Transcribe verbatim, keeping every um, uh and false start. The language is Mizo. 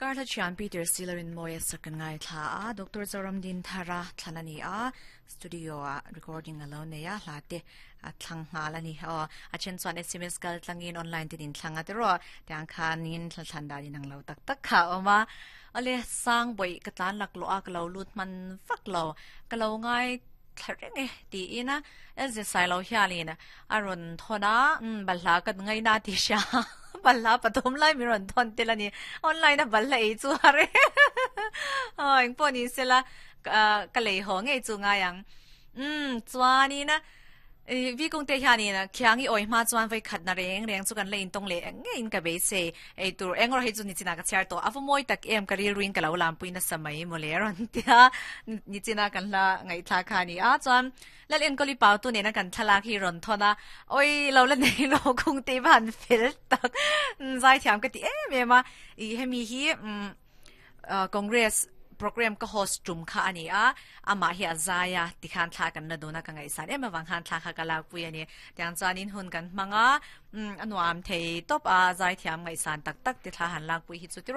Karla chian Peter Sillerin moya sakan ngai thla a Doctor Zoram Din Thara thlanani a studio a recording alo neya hlate a thlang ngal ani o a chen chuan S M S kal tlangin online tin in thlanga te ro tiang khanin thlan da din ang lo tak tak kha oma ale sang boi ka tlan lak lo a ka lo lut man fak lo ka lo ngai thareng e ti ina elze sai lo hialin aron thona um balha ka ngai na ti sha balha pathum lai mi ron thon telani online a balha e chu hare oi po ni sela ka lei ho nge chu nga yang um chuani na vi kong te hiani na khiangi oi ma chuan vai khat na reng reng chu kan lein tong le nge in ka be se ei tur engor he chu ni china ka char to afu moi tak em ka ril ruin ka lo lam puina samai mo le ron tia ni china kan la ngai tha kha ni a chuan lal en koli pau tu ne na kan thala hi ron thona oi lo la nei lo kung te ban fel tak zai thiam ka ti em em a i hemi hi Congress program ka host tum kha ani a ama hi azaya ti khan thla kan na dona ka ngai san em awang khan thla kha kala pui ani tiang chuan in hun kan manga anuam thei top a zai thiam ngai san tak tak ti thla han lak pui hi chu ti.